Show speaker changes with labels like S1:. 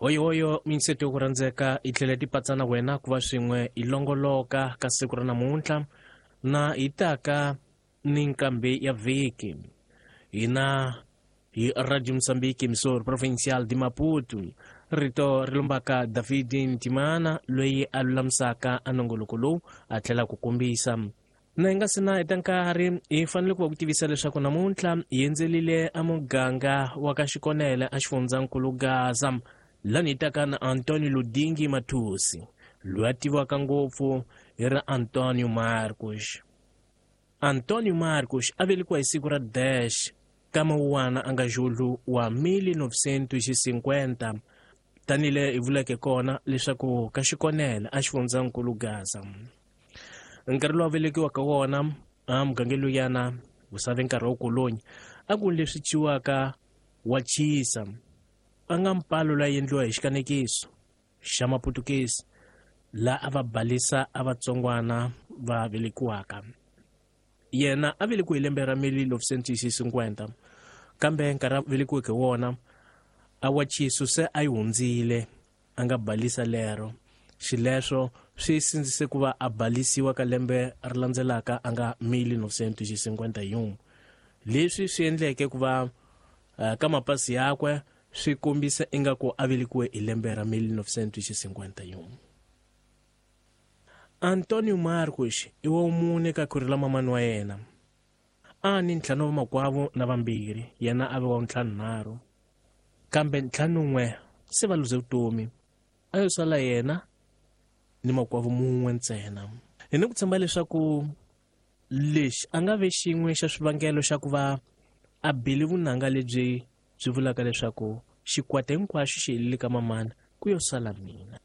S1: Hoyohoyo minseto yo ku rhandzeka yi tlhela ti patsa na wena ku va swin'we hi longoloka ka siku ra namuntlha na hi taka ni nkambi ya vhiki. Hina hi Radio Mozambique, emissor provincial de Maputo. Rito ri lombaka David Ntimana loyi a lulamisaka a nongoloko lowu a tlhela ku kombisa. Na hi nga si na heta nkarhi hi fanele ku va ku tivisa leswaku namuntlha hi endzelile a muganga wa ka Xikonele a xifundzankulu Gaza lani hi taka na Antonio Ludingi Mathusi loyi a tiviwaka ngopfu hi ra Antonio Marcos. Antonio Marcos a velekiwa hi siku ra 10 ka Mawuwana a nga Julho wa 1950 tanile hi vuleke kona leswaku ka Xikonele a xifundzankulu Gaza. Nkarhi lowu a velekiwa ka wona a mugangeni luyana wu save nkarhi wa kolonyi a ku leswi ciwaka wa chisa a nga mpalo loyi endliwa hi xikanekiso xa Maputukezi la a va balisa a vatsongwana va velekiwaka. Yena a velekiwe hi lembe ra 1950 kambe nkarhi a velekiweke wona a wa chisu se a yi hundzile a nga balisa lero. Xileswo swi sindzise ku va a balisiwa ka lembe ri landzelaka a nga 1951. Leswi swi endleke ku va ka mapasi yakwe swi kombisa ingaku a velekiwe hi lembe ra 1951. Antonio Marcos i wa mune ka khwiri la mamani wa yena. A ni ntlhanu wa makwavo na vambirhi, yena a ve wa ntlhanunharhu. Kambe ntlhanun'we se va luze vutomi, a yo sala yena ni makwavo mun'we ntsena. Hi ni ku tshemba leswaku lexi a nga ve xin'we xa swivangelo xa ku va a bile vunanga lebyi byi vulaka leswaku xikwata hinkwaxo xi helile ka mamana ku yo sala mina.